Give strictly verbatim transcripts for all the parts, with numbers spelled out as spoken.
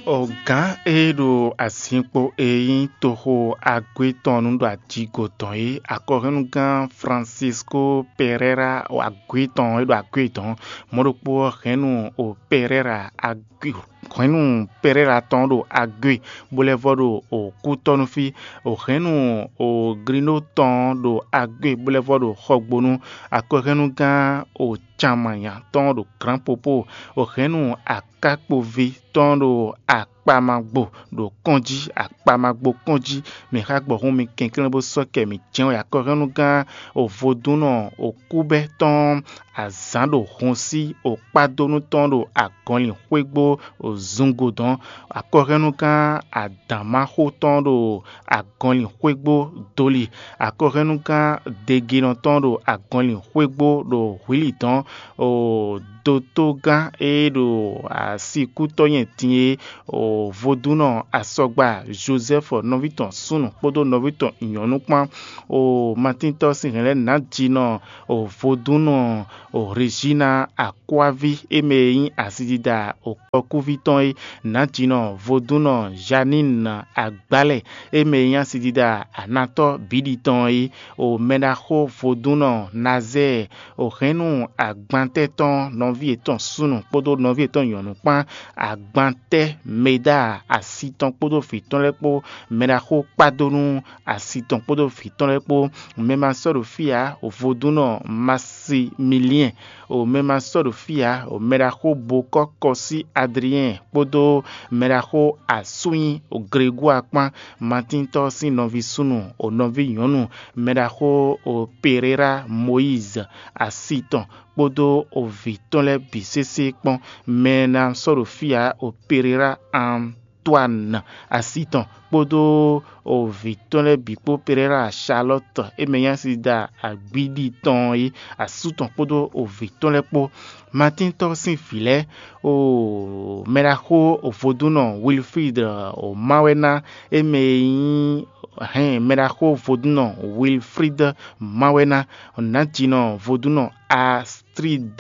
Gǎn e ɖo azinkpo e nyí toxo Agué tɔn nu ɖo ajigo tɔn é, akɔhɛnnugán Francisco Pereira Agué tɔn e ɖo Agué tɔn. Mɔ̌ ɖokpó ɔ́, hɛ̌nnu o Pereira Agué hɛ̌nnu Pereira tɔn ɖo Agué, bó lɛ́ vɔ ɖo kútɔ́nú fí. Hɛ̌nnu o Grino tɔn ɖo Agué, bó lɛ́ vɔ ɖo Xɔgbónú. Akɔhɛnnugán o Canmanya tɔn ɖo Grand Popo. Hɛ̌nnu akákpoví tɔn ɖo akpamagbo ɖo kɔn jí, akpamagbo kɔn jí. Mi xá gbɔ̌ hún mi kɛnklɛ́n bó sɔ́ kɛ mǐ jɛ́n wɛ. Akɔhɛnnugán o vodúnnɔ o kúbɛ́ tɔn azǎn ɖo hun sí o kpádónú tɔn ɖo agɔnlin xwégbó o zungo dɔn. Akɔhɛnnugán adǎnmáxó tɔn ɖo agɔnlin xwégbó doli. Akɔhɛnnugán degenɔ tɔn ɖo agɔnlin xwégbó ɖo hwǐli dɔn. O dotogán e ɖo asikútɔ́ nyɛ din é, o vodúnnɔ asɔgba Joseph nɔví tɔn súnnu kpódó nɔví tɔn nyɔ̌nu kpán. O matíntɔ́ sín hɛ̌nlɛ́ nǎjínɔ o vodúnnɔ o Regina akɔ́ví e mɛ e nyí asidida o kɔkúví tɔn é, nǎjínɔ vodúnnɔ Janine agbálɛ e mɛ e nyí asidida anatɔ́ bǐɖi tɔn é. O mɛɖaxó vodúnnɔ Nazɛ́ɛ o hɛ̌nnu agbantɛ́ tɔn nɔví yětɔn súnnu kpódó nɔví yětɔn nyɔ̌nu kpán, agbantɛ́ Meda asi tɔn kpódó vǐ tɔn lɛ́ɛ kpó, mɛɖaxó kpádónú asi tɔn kpódó vǐ tɔn lɛ́ɛ kpó. Mɛ ma sɔ́ ɖo fí ǎ, vodúnnɔ Maximilien, o mɛ ma sɔ́ ɖo fí ǎ, o mɛɖaxó Bokɔ́ Kɔsí Adriɛn kpódó mɛɖaxó Asúnyi o Gregua kpán, Matíntɔ́ sín nɔví súnnu o nɔví nyɔ̌nu, mɛɖaxó o Pereira Moyiz asi tɔn kpódó o vǐ tɔn lɛ́ɛ bǐ sésé kpɔ́n. Mɛ e ná sɔ́ ɖo fí ǎ, o Pereira Antoine asi tɔn kpódó o vǐ tɔn lɛ́ɛ bǐ kpó Pereira Charlotte e mɛ nyí asida agbíɖi tɔn é, asú tɔn kpódó o vǐ tɔn lɛ́ɛ kpó. Matíntɔ́ sín vǐ lɛ́ɛ, o mɛɖaxó vodúnnɔ Wilfrid o Mawɛná e mɛ e nyí hɛn mɛɖaxó vodúnnɔ Wilfrid Mawɛná, nǎjínɔ vodúnnɔ Astrid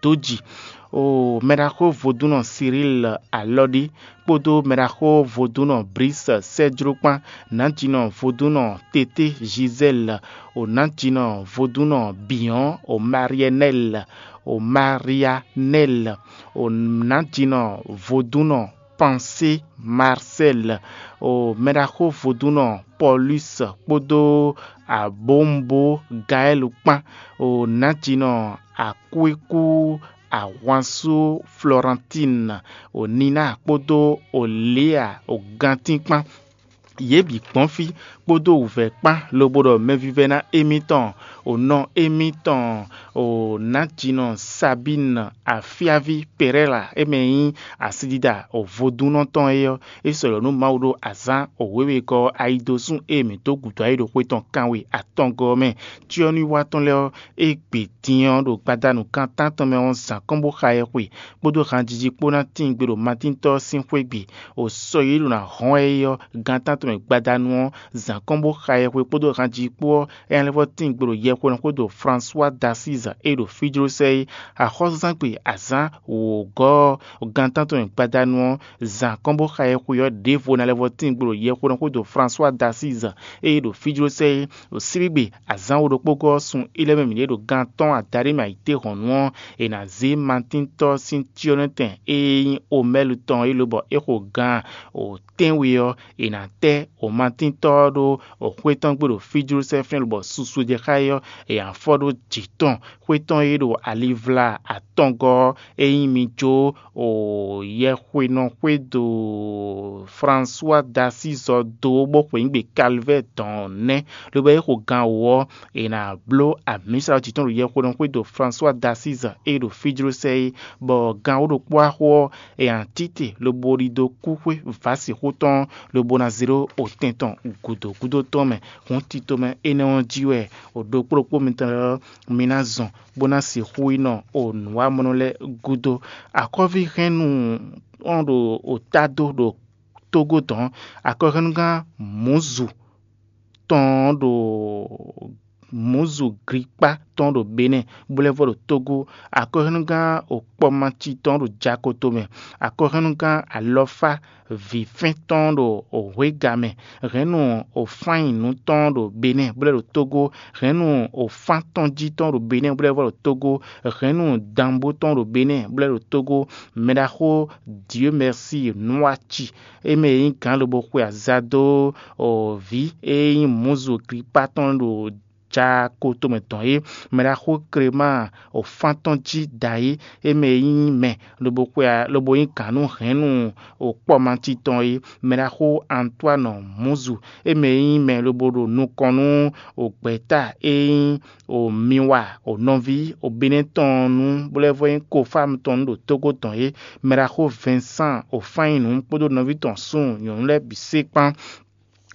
Dodji, o mɛɖaxó vodúnnɔ Cyril Alɔɖi kpódó mɛɖaxó vodúnnɔ Brice Sɛjló kpán, nǎjínɔ vodúnnɔ Tété Gisèle, o nǎjínɔ vodúnnɔ Biɔn, o Marienel, o Marianel, o nǎjínɔ vodúnnɔ Pansé Marcel, o mɛɖaxó vodúnnɔ Paulus kpódó abǒmbo Gaɛl kpán, o nǎjínɔ akwékú ahwansú Florentine, o Nina kpódó o Léa o gantín kpán. Yě bǐ gbɔn fí kpódó wǔvɛ́ kpán lobo ɖɔ mɛvívɛ́ná émítɔn, o nɔ émítɔn, o nǎjínɔ Sabín afíaví Perɛ́la e mɛ nyí asidida o vodúnnɔ tɔn é ɔ́, é sɔ́ ɖɔ nú Mawu ɖó azǎn o wěwekɔ ɔ́ ayidosún e mǐ dó gǔdo ayǐ ɖo xwe tɔn kanwe atɔngɔ́ ɔ́ mɛ. Cyɔ́núwiwa tɔn lɛ́ɛ ɔ́, é gbe din ɔ́ ɖo gbadanu kan tántɔn mɛ ɔ́ zǎn kɔn bó xa ɛ xwe, kpódó hanjiji kpó ná tíin gbe ɖo Matíntɔ́ ɔ́ sín xwé gbe. O sɔ e ɖo ná hɔn ɛ é ɔ́, gan tántɔn mɛ gbadanu ɔ́, zǎn kɔn bó xa ɛ xwe kpódó hanjiji kpó ɔ́, é ná lɛ́ vɔ́ tíin gbe ɖo yɛhweɖɔxwédo François d'Assise e ɖo Fíjlósɛ é. Axɔ́súzángbe azǎn wǒgɔ́ ɔ́, gan tántɔn mɛ gbadanu ɔ́, zǎn kɔn bó xa ɛ xwe ɔ́, ɖěvo ná lɛ́ vɔ́ tíin gbe ɖo yɛhweɖɔxwédo François d'Assise e ɖo Fíjlósɛ é. Ɖo síbígbe azǎn wo ɖokpó gɔ́ ɔ́, sun é lɛ́ mɛ mǐ ɖe ɖo gan atɔ́ɔ́n adaɖé mɛ ayǐtéhɔ̌nnu ɔ́, è nǎ zé Matíntɔ́ sín cyɔ́nɔtɛn e nyí Omɛ́lu tɔn é lobɔ é xo gan o tɛ́nwe ɔ́, è nǎ tɛ́ o Matíntɔ́ ɔ́ ɖó o xwé tɔn gbe ɖo Fíjlósɛ fínɛ́ lobɔ susu e jɛ xá é ɔ́, è nǎ fɔ ɖó jǐ tɔn. Xwé tɔn e ɖo alivla atɔngɔ́ ɔ́, é nyí mi jó o yɛhwenɔxwédo François d'Assise ɔ́ dó bó xweyǐgbe Calvaire dɔn ɔ́ nɛ́, lobo é xo gan wǒ ɔ́, è nǎ bló amǐsa ɔ́ jǐ tɔn ɖo yɛhwenɔxwédo François d'Assise e ɖo Fíjlósɛ é, bɔ gan wǒ ɖokpó axo ɔ́, è nǎ títè lobo ɖi dó kúxwé vǎsixú tɔn, lobo ná zé ɖó otɛn tɔn gǔdo gúdo tɔn mɛ. Hǔn tito mɛ énɛ́ ɔ́ jí wɛ o ɖokpó ɖokpó mitɔn lɛ́ɛ ɔ́, mi ná zɔn bó ná sixú yi nɔ o nǔwamɔnɔ lɛ́ɛ gúdo. Akɔ́ví hɛn nú ɔ́ ɖo o tá dó ɖo Tógó dɔn. Akɔhɛnnugán Mǔzu tɔn ɔ́ ɖo Mǔzu Glipá tɔn ɖo Benɛ́ɛ, bó lɛ́ vɔ ɖo Tógó. Akɔhɛ́núgán Okpɔmaci tɔn ɖo Jakoto mɛ. Akɔhɛ́núgán Alɔfá vǐfɛ́n tɔn ɖo Hwéga mɛ. Hɛ̌nnu Ofányinu tɔn ɖo Benɛ́ɛ, bó lɛ́ ɖo Tógó. Hɛ̌nnu Ofán tɔn jí tɔn ɖo Benɛ́ɛ, bó lɛ́ vɔ ɖo Tógó. Hɛ̌nnu Danbó tɔn ɖo Benɛ́ɛ, bó lɛ́ ɖo Tógó. Mɛɖaxó Dieu Merci Nwaci, é mɛ e nyí gǎn lobo xwe aza dó vǐ e nyí Mǔzu Glipá tɔn ɖo Jakoto mɛ tɔn é. Mɛɖaxó Klema Ofán tɔn jí da é, é mɛ e nyí mɛ lobo xwe lobo nyí gǎn nú hɛ̌nnu Okpɔmaci tɔn é. Mɛɖaxó Antoine Mǔzu, é mɛ e nyí mɛ lobo ɖo nukɔn nú gbɛ̌ta e nyí Miwa nɔví Benɛ́ɛ tɔn nu, bó lɛ́ vɔ nyí Kofámu tɔn nu ɖo Tógó tɔn é. Mɛɖaxó Vincent Ofányinu kpódó nɔví tɔn súnnu nyɔ̌nu lɛ́ɛ bǐ sé kpán.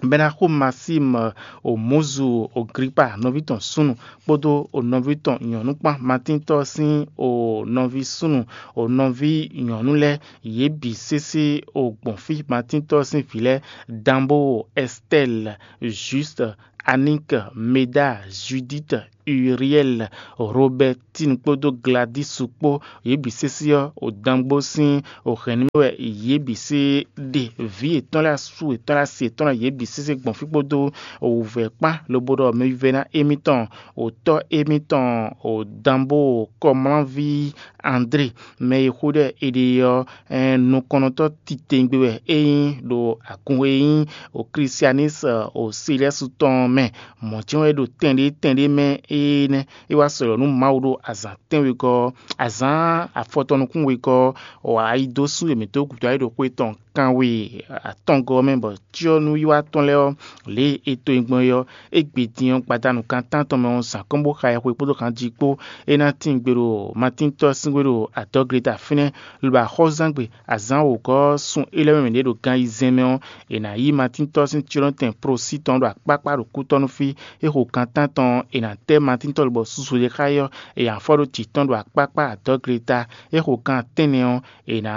Bɛ́ ná xo Masímu Omɔ̌zu Oglipa nɔví tɔn súnnu kpódó o nɔví tɔn nyɔ̌nu kpán, Matíntɔ́ sín o nɔví súnnu, o nɔví nyɔ̌nu lɛ́ɛ, yě bǐ sésé o gbɔn fí. Matíntɔ́ sín vǐ lɛ́ɛ: Danbo, Ɛstɛ́li, Júst, Aník, Meda, Judíti, Uriɛ́li, Robɛtín kpódó Gladísu kpó, yě bǐ sésé ɔ́, o dangbó sín o hɛ̌nnu mɛ wɛ yě bǐ sé ɖe. Vǐ yětɔn lɛ́ɛ, asú yětɔn lɛ́ɛ, asi yětɔn lɛ́ɛ, yě bǐ sésé gbɔn fí kpódó o wǔvɛ́ kpán, lobo ɖɔ mɛvívɛ́ná émítɔn, o tɔ́ émítɔn, o danbó kɔmlánví André, mɛ e xó ɖɔ è ɖe ɔ́, nukɔntɔ́ titewungbe wɛ é nyí ɖo agun e nyí o Klisianísi o Silɛ́su tɔn ɔ́ mɛ. Mɔ̌ jɛ́n wɛ é ɖo tɛn ɖé tɛn ɖé mɛ énɛ́. É wá sɔ́ nú Mawu ɖo azǎn tɛ́nwegɔ́ ɔ́, azǎn afɔtɔn nukún wegɔ́ ɔ́, ayi dó sú yě mǐtɔn gǔdo ayǐ ɖo xwé tɔn kanwe atɔngɔ́ ɔ́ mɛ, bɔ cyɔ́núwiwa tɔn lɛ́ɛ ɔ́, lě e è to nyi gbɔn é ɔ́, é gbe din ɔ́, gbadanu kan tántɔn mɛ ɔ́, zǎn kɔn bó xa ɛ xwe kpódó kanjí kpó. É ná tín gbe ɖo Matíntɔ́ sín xwé ɖo adɔ̌gleta fínɛ́, lobo axɔ́zán gbe azǎn wǒgɔ́ ɔ́, sun é lɛ́ɛ mɛ mǐɖée ɖo gan ayizɛ́n mɛ ɔ́, è nǎ yí Matíntɔ́ sín cyɔ́nɔtɛn Prosí tɔn ɖo akpákpá ɖo kútɔ́ nú fí. É xo kan tántɔn ɔ́, è nǎ tɛ́ Matíntɔ́ lobɔ susu ɖé xá é ɔ́, è nǎ fɔ ɖó jǐ tɔn ɖo akpákpá adɔ̌gleta. É xo kan tɛ́nnɛ ɔ́, è nǎ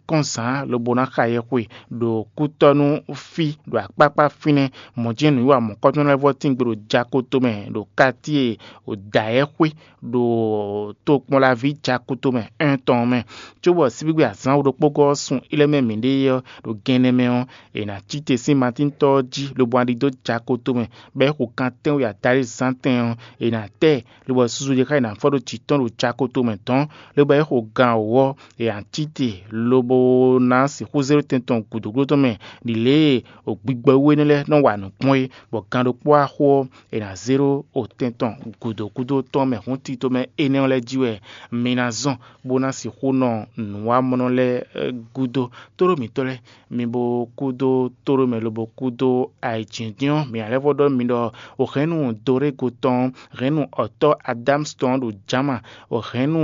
kɔn zǎn lobo ná xa yɛxwe ɖo kútɔ́ nú fí ɖo akpákpá fínɛ́. Mɔ̌ jɛ́n nǔwiwa mɔ̌kɔ́tɔn lɛ́ɛ vɔ tín gbe ɖo jakoto mɛ ɖo katíe ɖo dǎyɛ́xwé ɖo tokpɔnlaví jakoto mɛ ɛ́n tɔn mɛ. Cóbɔ síbígbe azǎn ɖokpógɔ́ ɔ́ sun é lɛ́ɛ mɛ mǐɖée ɔ́ ɖo gɛnnɛ mɛ ɔ́, è nǎ cí te sín Matíntɔ́ ɔ́ jí lobo ná ɖidó jakoto mɛ, bɔ é xo kan tɛ́nwe adaɖé zán tɛn ɔ́, è nǎ tɛ ɛ, lobo susu ɖé xá è nǎ fɔ ɖó jǐ tɔn ɖo jakoto mɛ dɔ̌n, lobo é xo gan wǒ ɔ́, è nǎ cí te lobo ná sixú zé ɖó tɛn tɔn gǔdo gúdo tɔn mɛ ɖi lě e gbigbɔ wú énɛ́ lɛ́ɛ nɔ wa nǔ gbɔn é, bɔ gan ɖokpó axo ɔ́, è nǎ zé ɖó otɛn tɔn gǔdo gúdo tɔn mɛ hǔn tito mɛ énɛ́ ɔ́ lɛ́ɛ jí wɛ mi ná zɔn, bó ná sixú nɔ nǔwamɔnɔ lɛ́ɛ gúdo. Tóɖó mǐtɔn lɛ́ɛ, mi bo kúdó tóɖó mɛ lobo kúdó ayǐjínjɔ́n. Mǐ ná lɛ́ vɔ ɖɔ mi ɖɔ o hɛ̌nnu Dorégo tɔn, hɛ̌nnu ɔ̌tɔ́ Adámus tɔn ɖo Jama, o hɛ̌nnu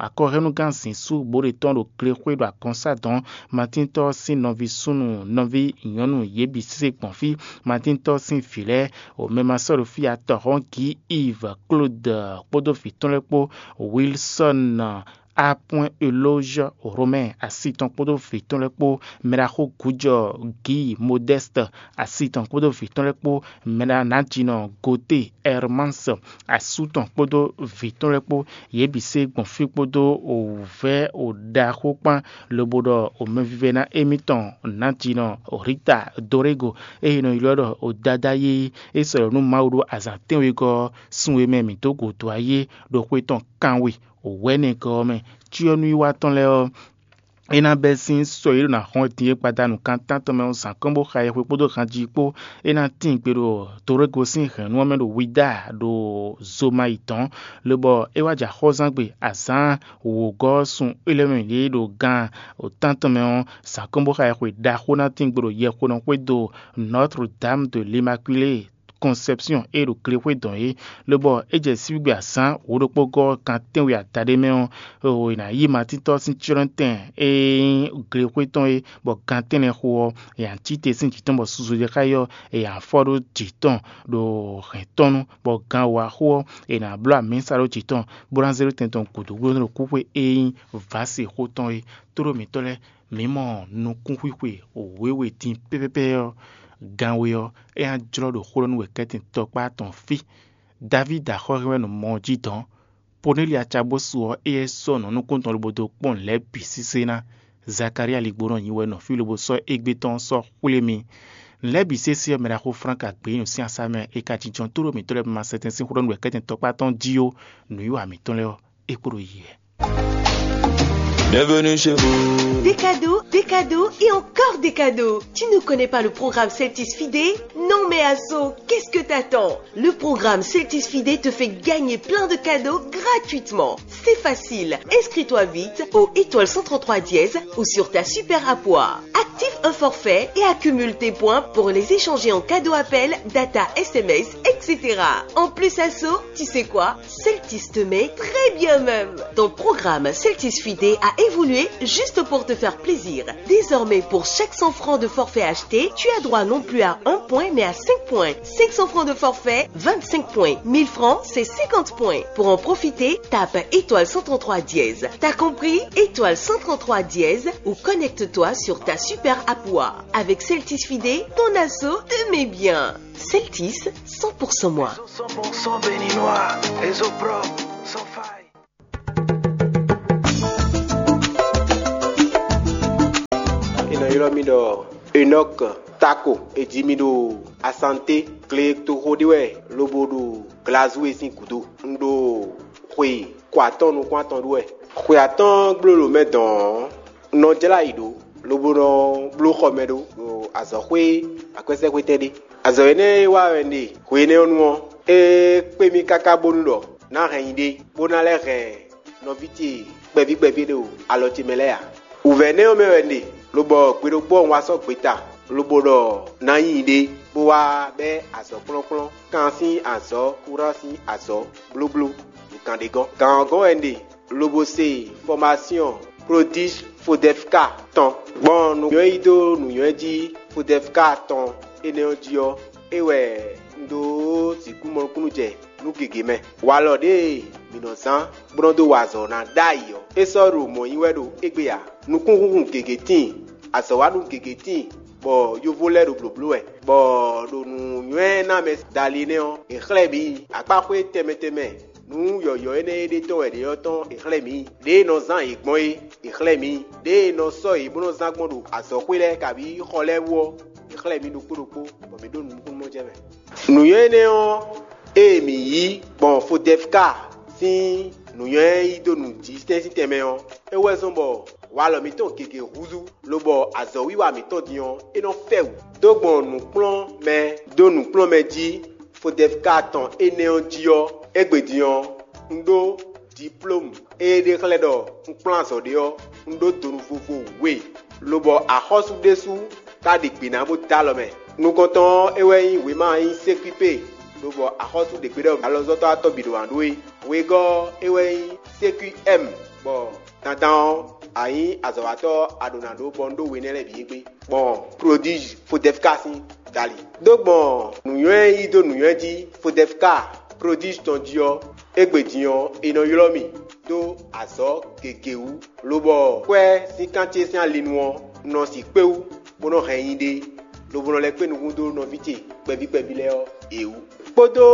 akɔhɛ́núgán zǐnsú bǒɖe tɔn ɖo glexwé ɖo agɔ̌nsá dɔ̌n. Matíntɔ́ sín nɔví súnnu, nɔví nyɔ̌nu, yě bǐ sésé gbɔn fí. Matíntɔ́ sín vǐ lɛ́ɛ, o mɛ ma sɔ́ ɖo fí atɔ̌hɔn Gǐ Iv Klód kpódó vǐ tɔn lɛ́ɛ kpó, Wilsɔ́n, Apwɛ́n Elózhɔ́ Romɛ́ɛ asi tɔn kpódó vǐ tɔn lɛ́ɛ kpó, mɛɖaxó gǔjɔ Gǐ Modɛ́st asi tɔn kpódó vǐ tɔn lɛ́ɛ kpó, mɛɖanǎjínɔ Gote Ɛrmáns asú tɔn kpódó vǐ tɔn lɛ́ɛ kpó, yě bǐ sé gbɔn fí kpódó wǔvɛ́ ɖaxó kpán, lobo ɖɔ mɛvívɛ́ná émítɔn nǎjínɔ Rita Dorégo, ée è nɔ ylɔ́ ɖɔ Dadá yéyí, é sɔ́ ɖɔ nú Mawu ɖó azǎn tɛ́nwegɔ́ ɔ́, sun e mɛ mǐ dó gǔdo ayé ɖo xwé tɔn kanwe wɛ̌nɛgɔ́ ɔ́ mɛ. Cyɔ́núwiwa tɔn lɛ́ɛ ɔ́, é ná bɛ́ sín sɔ e ɖo ná hɔn din é gbadanu kan tántɔn mɛ ɔ́ zǎn kɔn bó xa yɛhwe kpódó hanjí kpó. É ná tín gbe ɖo Dorégo sín hɛ̌nnu ɔ́ mɛ ɖo Wida ɖo zomayi dɔ̌n, lobɔ é wá jɛ axɔ́zán gbe azǎn wǒgɔ́ sun élɔ́ mɛ ɖě ɖo gan tántɔn mɛ ɔ́, zǎn kɔn bó xa yɛhwe ɖaxó ná tín gbe ɖo yɛxonɔ xwédo Notre Dame de l'Immaculée Conception e ɖo glexwé dɔn é, lobɔ é jɛ síbígbe azǎn wǒ ɖokpó gɔ́ gan tɛ́nwe adaɖé mɛ ɔ́, è nǎ yí Matíntɔ́ sín cyɔ́nɔtɛn e nyí glexwé tɔn é, bɔ gan tɛ́nnɛ xo ɔ́, è nǎ cí te sín jǐ tɔn bɔ susu ɖé xá é ɔ́, è nǎ fɔ ɖó jǐ tɔn ɖo hɛ̌n tɔn nu, bɔ gan wǒ axo ɔ́, è nǎ bló amǐsa ɖó jǐ tɔn, bó ná zé ɖó tɛn tɔn gǔdo gúdo ɖo kúxwe e nyí vǎsi xó tɔn é. Tóɖó mǐtɔn lɛ́ɛ, mǐ mɔ nukúnxwixwe wěwe din pɛ́pɛ́pɛ́ ɔ́, gan we ɔ́, é ná jlɔ́ ɖo xó ɖɔ nú wɛ kɛ́tɛn tɔkpá tɔn fí. Davídi axɔ́ hɛn wɛ nɔ mɔ ɔ́ jí dɔn. Poneli acabosu ɔ́, éyɛ́ sɔ́ nǔ nukúntɔn lobo dó kpɔ́n nǔ lɛ́ɛ bǐ sísé ná. Zakalía ligbónɔ nyi wɛ nɔ fí lobo sɔ́ égbé tɔn sɔ́ xwlé mì. Nǔ lɛ́ɛ bǐ sésé ɔ́, mɛ ɖaxó Flánk Agbeyínu sín asá mɛ e ka jínjɔ́n tlóló mǐtɔn lɛ́ɛ ma sɛtɛn sín xó ɖɔ nú wɛ kɛ́tɛn tɔkpá tɔn jí ó, nǔwiwa mǐtɔn lɛ́ɛ ɔ́, é kpo ɖo yi wɛ. Bienvenue chez vous. Des cadeaux, des cadeaux et encore des cadeaux. Tu ne connais pas le programme Celtis Fidé ? Non mais Asso, qu'est-ce que t'attends ? Le programme Celtis Fidé te fait gagner plein de cadeaux gratuitement. C'est facile. Inscris-toi vite au étoile cent trente-trois dièse ou sur ta super app. Active un forfait et accumule tes points pour les échanger en cadeau appel, data, S M S, et cetera. En plus, Asso, tu sais quoi ? Celtis te met très bien même. Ton programme Celtis Fidé a évolué juste pour te faire plaisir. Désormais, pour chaque cent francs de forfait acheté, tu as droit non plus à un point, mais à cinq points. Cinq cents francs de forfait, vingt-cinq points. Mille francs, c'est cinquante points. Pour en profiter, tape étoile cent trente-trois dièse. T'as compris ? Étoile cent trente-trois dièse ou connecte-toi sur ta super app. Avec Celtis Fidé, ton asso te met bien. Celtis, cent pour cent moi. Cent pour cent béninois, réseau propre, sans faille. È nɔ ylɔ́ mì ɖɔ Enɔk Tako. È ji mì ɖo Asanté, gletoxo ɖé wɛ, lobo ɖo Glazue sín gǔdo. Un ɖo xwe ko atɔ́ɔ́n nukún atɔn ɖu wɛ. Xwe atɔ́ɔ́n gbló ɖo mɛ dɔn ɔ́, un nɔ jlá ayǐ ɖó, lobo nɔ bló xɔ mɛ ɖó ɖo azɔ̌xwé akwɛ́sɛ́xwétɛn ɖé. Azɔ̌ énɛ́ e wa wɛ un ɖe hwe énɛ́ ɔ́ nu ɔ́, é kpé mì káká bónú ɖɔ ná hɛn nyi ɖé, bó ná lɛ́ hɛn nɔví ce kpɛví kpɛví ɖo alɔ ce mɛ lɛ́ɛ ǎ. Wǔvɛ́ énɛ́ ɔ́ mɛ wɛ un ɖe, lobɔ gbe ɖokpó ɔ́ un wá sɔ́ gbeta, lobo ɖɔ ná nyi ɖé, bó wá bɛ́ azɔ̌ kplɔ́nkplɔ́n, kan sín azɔ̌, kúran sín azɔ̌, blóbló, ɖo gǎn ɖé gɔ́n. Gǎn ɔ́ gɔ́n wɛ un ɖe, lobo se fɔmasyɔn Prodíge Fodɛfka tɔn. Gbɔn nǔnywɛ́ yí dó nǔnywɛ́ jí Fodɛfka tɔn énɛ́ ɔ́ jí ɔ́, é wɛ un ɖó sixú mɔ nukúnnú jɛ nú gěgé mɛ. Walɔ ɖěe mǐ nɔ zán bó nɔ́ dó wa azɔ̌ ná ɖ'ayǐ ɔ́, é sɔ́ ɖo mɔ̌ nyí wɛ ɖo égbé ǎ. Nukúnhúnhun gěgé tíin, azɔ̌wanú gěgé tíin, bɔ yovo lɛ́ɛ ɖo blǒbló wɛ, bɔ ɖo nǔnywɛ́ ná mɛ dali nɛ́ ɔ́, è xlɛ́ mǐ akpáxwé tɛnmɛ tɛnmɛ. Nǔ yɔ̌yɔ́ énɛ́ e ɖe tɔn wɛ ɖě ɔ́ tɔn è xlɛ́ mǐ. Ɖěe è nɔ zán yě gbɔn é, è xlɛ́ mǐ. Ɖěe è nɔ sɔ́ yě bó nɔ́ zán gbɔn ɖo azɔ̌xwé lɛ́ɛ kabǐ xɔ lɛ́ɛ wú ɔ́, è xlɛ́ mǐ ɖokpó ɖokpó, bɔ mǐ ɖó nǔ nukúnnú jɛ mɛ. Nǔnywɛ́ énɛ́ ɔ́, ée mǐ yí gbɔn Fodɛfka sín nǔnywɛ́ yí dó nǔjísɛ́n sín tɛnmɛ ɔ́, é wɛ zɔ́n bɔ walɔ mǐtɔn gěgé húzú, lobɔ azɔ̌wiwa mǐtɔn din ɔ́, é nɔ fɛ wǔ. Dó gbɔn nǔkplɔ́nmɛ dó nǔkplɔ́nmɛ jí Fodɛfka tɔn énɛ́ ɔ́ jí ɔ́, égbé din ɔ́, un ɖó diplómu e ɖe xlɛ́ ɖɔ un kplɔ́n azɔ̌ ɖé ɔ́, un ɖó donu vovo we, lobɔ axɔ́sú ɖésú ka ɖe gbe ná bó dó alɔ mɛ. Nukɔntɔn ɔ́, é wɛ nyí wěma e nyí sékúi pé, lobɔ axɔ́sú ɖě gbe ɖɔ alɔzɔ́tɔ́ atɔ́ bǐ ɖo wǎn ɖó é. Wegɔ́ ɔ́, é wɛ nyí sékúi ɛ́m, bɔ dandan ɔ́, a nyǐ azɔ̌watɔ́ a ɖǒ ná ɖó bɔ un ɖó we énɛ́ lɛ́ɛ bǐ égbé. Gbɔn Prodíge Fodɛfka sín dali. Dó gbɔn nǔnywɛ́ yí dó nǔnywɛ́ jí Fodɛfka Prodíge tɔn jí ɔ́, égbé din ɔ́, è nɔ ylɔ́ mì dó azɔ̌ gěgé wú, lobɔ kwɛ́ sín kan ce sín ali nu ɔ́, un nɔ sixú kpé wú, bó nɔ́ hɛn nyi ɖé, lobo nɔ lɛ́ kpé nukún dó nɔví ce kpɛví kpɛví lɛ́ɛ ɔ́, è wú. Kpódó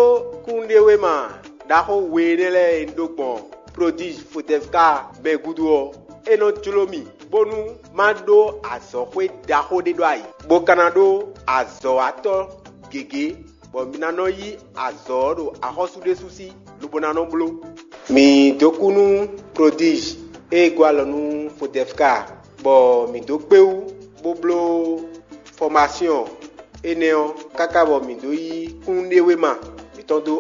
kúnnuɖewéma ɖaxó we énɛ́ lɛ́ɛ e un ɖó gbɔn Prodíge Fodɛfka mɛ gúdo ɔ́, é nɔ jló mì bónú má ɖó azɔ̌xwé ɖaxó ɖé ɖó ayǐ, bó ka ná ɖó azɔ̌watɔ́ gěgé, bɔ mi ná nɔ yí azɔ̌ ɔ́ ɖo axɔ́sú ɖésú sí, lobo ná nɔ bló. Mǐ dó kú nú Prodíge e gɔ́ alɔ nú Fodɛfka, bɔ mǐ dó kpé wú bó bló fɔmasyɔn énɛ́ ɔ́, káká bɔ mǐ dó yí kúnnuɖewéma mǐtɔn dó